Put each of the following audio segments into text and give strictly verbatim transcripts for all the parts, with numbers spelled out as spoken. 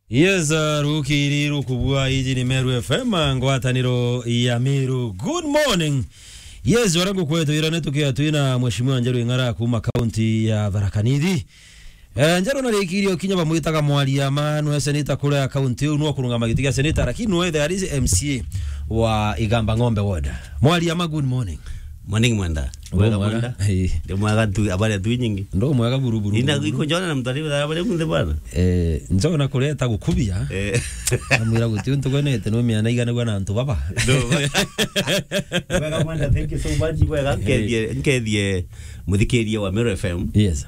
Yes, uh, rukiri rukubua, iji ni Meru F M, ngwataniro ya Meru. Good morning. Yes, wara ngukwetwira ni tukia twina Mheshimiwa Njeru Ing'ara kuma kaunti ya Tharaka Nithi. Eh, Njeru narikirie ukinya bamwitaga Mwaria ma, nwe seneta kuria kaunti iu, nwe kurungama giti gia seneta, lakini nwe the M C A wa Igamba Ng'ombe Ward. Mwaria ma, good morning. Morning, Mwenda. Ndo mwega, mwega. Mwenda. Ii. Ndi mwega tu, habari tu nyingi. Ndo mwega buru, buru, ina buru, buru. Iko njona na mtu alivyo habari kunde bwana. Eh, njona kureta gukubia. Eh. Amwira guti untu gwenete no miana igana gwa na antu baba. Ndo. Mwega, Mwenda, thank you so much. Mwega, eh, nkethie, nkethie muthikiria wa Meru F M. Yes.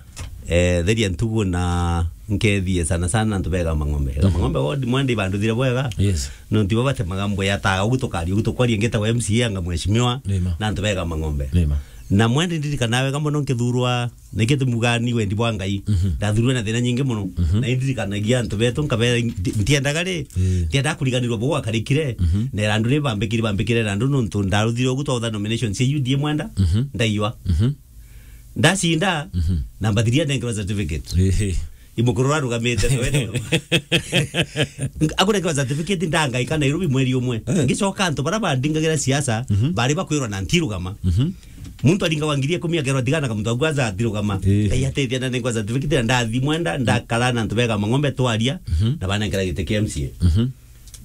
Eh, theria ntugu na nkethie sana sana antu bega Mang'ombe. Mhm. Mang'ombe ward, Mwenda, ibanduthire bwega. Yes. Nontu ibo batemaga mbuya ta ugu tukaria, ugu tukwaria ngeta wa M C A anga mheshimiwa, nima, na antu bega Mang'ombe. Nima. Na Mwenda, ndirikana wega mono nkithurwa, niki tumuga ni wendi bwa Ngai. Mhm. Ndathurwe na thina nyingi mono. Mhm. Na indirikanagia antu betu, nkabera, ndi-, ntiendaga ri, mm, ntiendaga kuriganirwa bo gwakarikire. Mhm. Na irandu ri bambikire, bambikire irandu nontu ndaruthire ugu twautha nomination cia U D A, Mwenda, mhm, ndaiwa. Mhm. Ndacinda, mhm, na mbathiria nengerwa certificate. Ehe. Imukuru arugamite, akunengerwa certificate, ndangaika Nairobi mweri umwe. Eh. Ngicoka antu bara bandingagira siasa, mhm, bari bakwirwa na ntirugama. Mhm. Muntu aringagwa ngiri ikumi akerwa tigana kamuntu aku aza atirugama. Eh. Ngai ateithia na nengwa certificate na ndathi Mwenda, ndakara na antu bega Mang'ombe twaria, mhm, na banengera giti kia M C A. Mhm.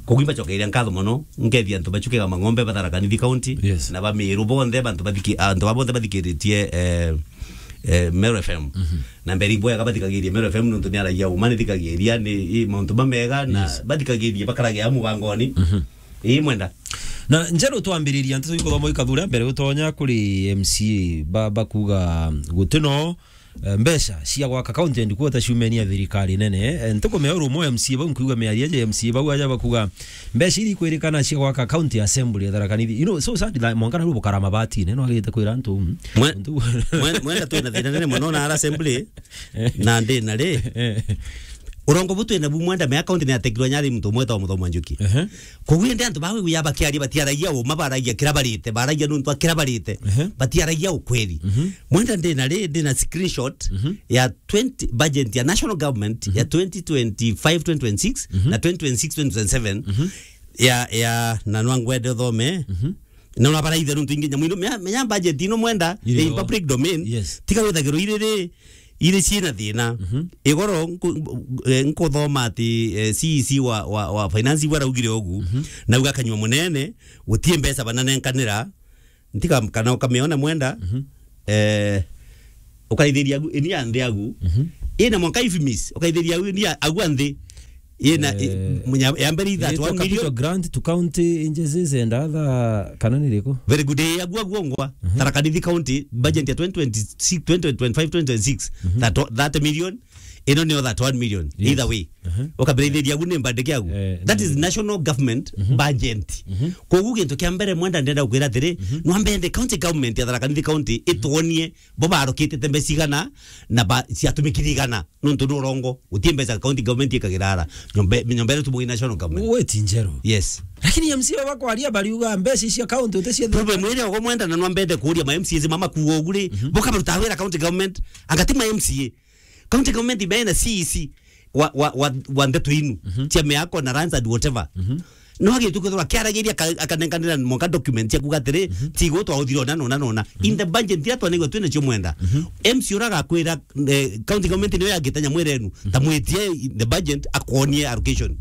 Koguo imbacokeria nkatho mono, nkethia antu bacu kega Mang'ombe ba Tharaka Nithi County, yes, na ba Meru bonthe, bantu bathiki-, antu ba bonthe bathikiritie, eh, eh, Meru F M. Mhm. Na mbere ibwega bathikagirie Meru F M, nontu ni aragia uma ni thikagiria, ni, i, mauntu mamega, na, yes, bathikagirie bakarage amu bangoni. Mhm. Ii, Mwenda. Na Njeru, twambiriria nteto ikuthoma ikathuria mbere gutonya kuri M C A ba, bakuga gutino eh, mbeca cia gwaka county headquarters ciumenia thirikari nene, eh, ntukumea uru umwe M C A bau nkuigua miario ya M C A bau aja bakuga mbeca iria ikwirikana cia gwaka county assembly ya Tharaka Nithi. You know, so sad that mwanka na rubu karama batine, no agite kwira antu, mm. Mwe-, antu mwe-, Mwenda, twina thina nene mono na ara assembly, na ndi na ri. Eh. Urongo bu twina bu, Mwenda, mea county ni atekirwa nyari muntu umwe ta Muthomi wa Njuki. Ehe. Koguo indi antu bawe wiya bakiaria batiaragia uma, baragia kira barite, baragia nontu a kira barite. Ehe. Batiaragia ukweli. Mhm. Mwenda, ndina ri, ndina screenshot, mhm, ya twenty, budget ya national government, mhm, ya twenty twenty-five, twenty twenty-six, mhm, na twenty twenty-six, twenty twenty-seven, mhm, ya, ya, na nwa ngwende uthome. Mhm. Na una baraithe nontu ingi nyamu ino, menya, menya budget ino, Mwenda, iri public domain. Yes. Tiga withagirwo iri ri, iri ciina thina. Mhm. Igoro nku-, eh, nkuthoma ati, eh, C E C wa, wa, wa finance igwe araugire ugu, mhm, nauga akanyua munene, gutie mbeca bananenkanira, ntika kana ukamiona, Mwenda, mhm, eh, ukaithiria agu, ini ya nthi agu, mhm, ina mwanka ifimis, ukaithiria agu, ini ya agu a nthi, ina, eh, i-, munya-, ya mbere itha itaitwa one million. Capital grant to county agencies and other, kana ni riku? Very good. Eh, agu, agu ongwa. Mhm. Tharaka Nithi County, budget ya twenty twenty-six, twenty twenty-five, twenty twenty-six, mhm, that o-, thirty million, ino niyo that one million. Yes. Either way. Mhm. Ukambira ithiria agu ni mbandike agu. Eh, that is national government, mhm, budget. Mhm. Koguo gintu kia mbere, Mwenda, ndenda gukwira atiri, mhm, nwambe the county government ya Tharaka Nithi County, mhm, itwonie bo barokitite mbeca igana na ba-, ciatumikire igana. Nontu ni urongo, gutie mbeca county government ikagira ara. Nyombe, nyombe iri tu national government. Weti Njeru. Yes. Lakini M C A bakwaria bariuga mbeca icio county uti cia problem iri ogo, Mwenda, na nwambende kuuria ma M C As mama kuuga ugu ri, mhm, boka baruta wira county government, anga ti ma M C A. County government ibe na C E C wa, wa, wa, wa ndeto inu, mhm, cia miako na lands and whatever. Mhm. No agitu kwithirwa akiaragiria aka-, akanenkanira mwanka document cia kuga atiri, mhm, tigo twauthire ona nona nona. Mhm. In the budget iria twanigua twina cio, Mwenda. Mhm. M C A ura agakwira, eh, county government niyo yagita nyamu irenu. Mhm. Ta mwitie in the budget akwonie allocation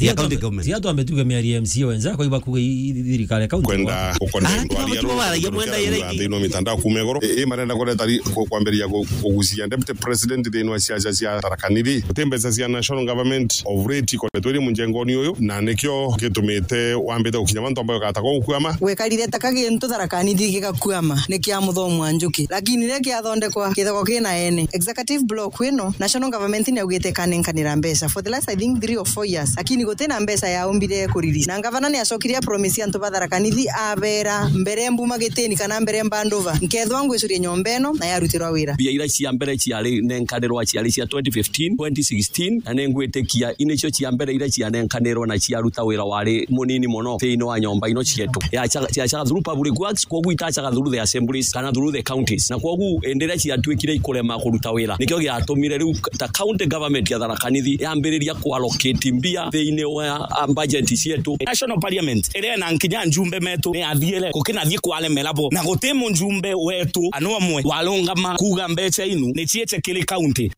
ya county government. Tia twambe tuge miario ya M C A wenza, kwa iba kuga i-, i-, thirikari ya county. Kwenda gukona. Ah, ndwaria tiga baragia, Mwenda, yere ingi. Nthini wa mitandao kuma iguru. I, i marenda kureta ri-, ku-, kwambiriria ku-, kugucia deputy president nthini wa siasa cia Tharaka Nithi. Guti mbeca cia national government of late ikoretwe iri munjengoni uyu, na nikio gitumite wambite gukinya mantu ambayo gatagwa gukwama. Gwekarire ta ka gintu Tharaka Nithi gigakwama ni kia Muthomi wa Njuki, lakini riria kiathondekwa kithagwa kina ene. Executive block ino, national government niaugite ikanenkanira mbeca for the last, I think, three or four years. Ni guti na mbeca yaumbire kuriri. Na ngavana ni acokire a promise antu ba Tharaka Nithi, abera, "Mbere mbuma gitini kana mbere mbandova, nkethwa ngwicuria nyomba ino na yarutirwa wira." Mbia iria cia mbere ciari nenkanirwa ciari cia twenty fifteen, twenty sixteen, na ningwitikia inicio cia mbere iria cianenkanirwe na ciaruta wira wari munini mono thiini wa nyomba ino cietu. Yacaga, yacaga through public works, kwoguo itacaga through the assemblies kana through the counties. Na kwoguo indi iria ciatuikire ikurema kuruta wira, nikio giatumire riu ta county government ya Tharaka Nithi yambiriria kuallocate mbia thiini wa, ah, budget cietu. National Parliament iria ina nkinya njumbe metu ni athiire, gukinathie kwaremera bo, na guti mujumbe wetu ana umwe warungama kuuga mbeca inu ni ciite kiri county.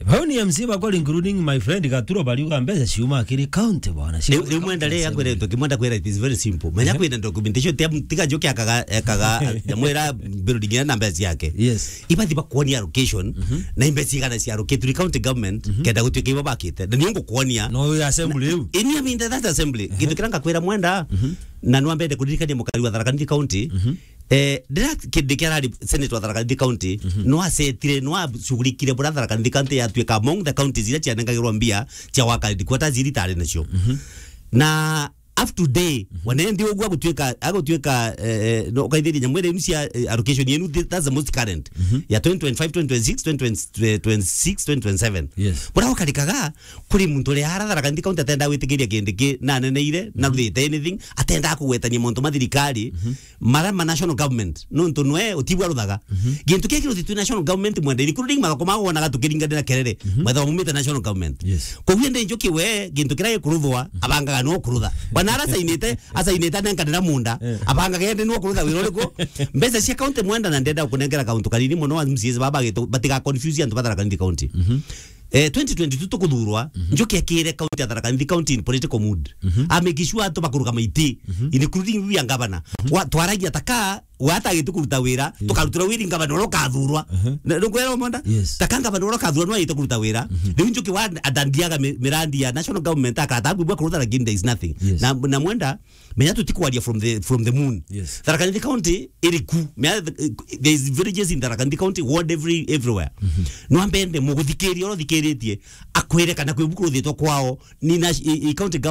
Bau ni M C bakwa, including my friend Gaturo, bariuga mbeca ciuma kiri county bwana. Riu, riu mwenda ri akwire ntu kimwenda kwira, it is very simple. Menya kwina documentation, tia, tiga njuke akaga, akaga, nyamwira building ina na mbeca ciake. Yes. Ibathi bakuonia allocation, na mbeca cigana cia allocate to the county government, kenda gutuika ibo bakite. Na niyo ngukuonia. No, assembly iu. Ini, I mean, that assembly. Gintu kiria ngakwira mwenda, na nwambende kuririkania mukari wa Tharaka Nithi County, eh, ndira kindi kia rari Senate wa Tharaka Nithi County, no asetire, no ashughulikire bura Tharaka Nithi County yatuika among the counties iria cianengagirwa mbia cia waka headquarters iria itari nacio. Na up to day, wana ndi uguo agutuika, agutuika, eh, eh, no, ukaithiria nyamwira inu cia, eh, allocation yenu, thi-, that's the most current. Ya twenty twenty-five, twenty twenty-six, twenty twenty-six, twenty twenty-seven. Yes. Bura ukarikaga, kuri muntu uri ara Tharaka Nithi County atenda gwitikiria kindi ki, na aneneire, na ruthite anything, atenda kugwetania mauntu ma thirikari, mara ma national government, nontu nwe utibwa ruthaga. Gintu kia kiruthi tu national government mwenda, including mathoko ma wonaga tukiringanira kerere, mwetha mumite national government. Yes. Koguo ndi njuki we, gintu kiria gikuruthwa, abangaga no kurutha. Bwana ara asainite, asainite anenkanira munda, abangaga ende no kurutha wira uriku? Mbeca cia county mwenda, na ndenda kunengera kauntu kanini mono wa M C As baba gitu, batiga confuse antu ba Tharaka Nithi County. Eh, twenty twenty-two tukuthurwa, njuki akire county ya Tharaka Nithi County in political mood. A make sure antu bakuruga maiti, including we ya governor. Wa, twaragia taka, we atagite kuruta wira, tukarutura wira ngavana uria ukathurwa. Na, nukwira mwenda? Yes. Taka ngavana uria ukathurwa no agite kuruta wira. Riu njuki wa adandiaga mi-, mirandi ya national government akata bwa kuruta, lakini there is nothing. Yes. Na, na mwenda, menya tutikwaria from the, from the moon. Yes. Tharaka Nithi County iri ku. Menya, eh, there is villages in Tharaka Nithi County, ward every, everywhere. No ambende muguthikiria uria uthikiritie, akwire kana kwi buku ruthitwa kwao, ni na, i, i county